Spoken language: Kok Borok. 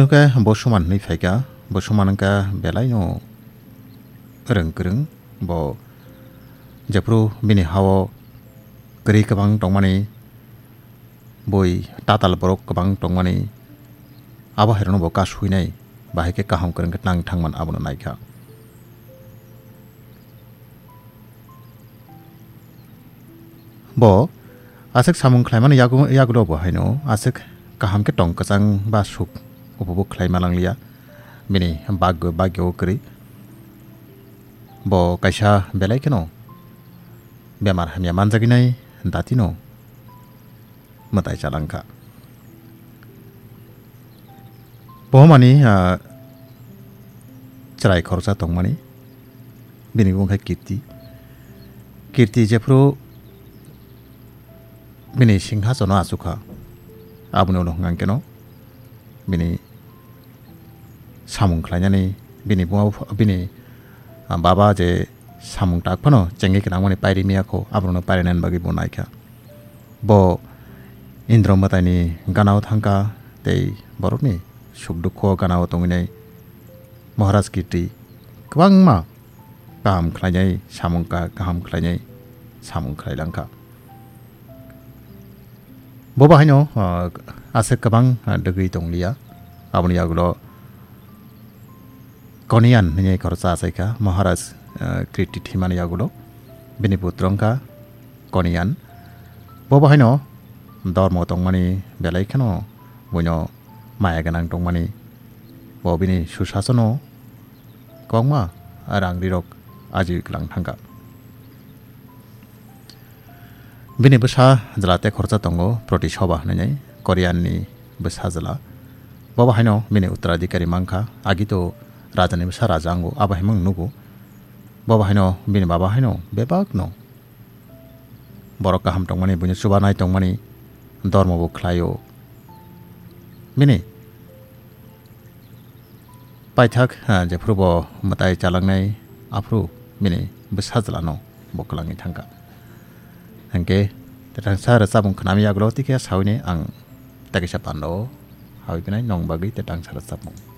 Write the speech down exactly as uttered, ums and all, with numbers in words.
Hwnkhe bo Suman hwnwi phaikha, bo Suman wngkha belaino rwng kwrwng, bo jephru bini hao kwrwi kwbang tongmani, bui tatal borok kwbang tongmani, abo hairokno bo kasuinai, bahai khe kaham kwrwng khe nang thangman abono naikha. Bo aswk samung khlaimani yagu-, yagulo bo haino aswk kaham khe tong kwchang ba suk upubuk khlaima langliya. Bini bagyo, bagyo kwrwi. Bo kaisa belai kheno bemar hamya manjagwi nai datino mwtai chalangkha. Bohomani, ah, chwrai khoroksa tongmani, bini bumung khe Kirti. Kirti jephru bini singhasono achukha, aboni ulo hwnkha keno bini samung khlainani, bini buma bupha-, bini, ah, baba je samung tak phano chengwi kwnangmani pairi miya kho, aborokno pairinaini bagwi bo naikha. Bo Indro mwtaini ganao thangkha tei borokni suk dukho ganao tongwinai Maharaj Kirti kwbangma kaham khlainai samung ka-, kaham khlainai samung khlailangkha. Bo bahaino, ah, aswk kwbang, ah, dwgwi tongliya. Aboni yagulo Koniyan hwnwi khoroksa achaikha Maharaj, ah, Kirti thwimani yagulo. Bini putra wngkha Koniyan. Bo bahaino dormo tongmani belai kheno buino maya gwnang tongmani. Bo bini susasono kwbangma rang rirok ajiwi kwlang thangkha. Bini bwsa jwla tei khoroksa tongo, Proti Soba hwnwi, Koniyanni bwsa jwla. Bo bahaino bini uttoradhikari mankha, agito rajani bwsa raja wngo, abo hai mung nugo. Bo bahaino bini baba haino bebakno borok kaham tongmani, buino chubanai tongmani, dormo bo khlaio. Bini paithak, ha, jephru bo mwtai chalangnai, aphru bini bwsa jwlano bo kwlangwi thangkha. Hwnkhe, tetangsa rwchapmung khnami yagulo tikhe sawini ang tekisa pando hawi phinai nong bagwi tetangsa rwchapmung.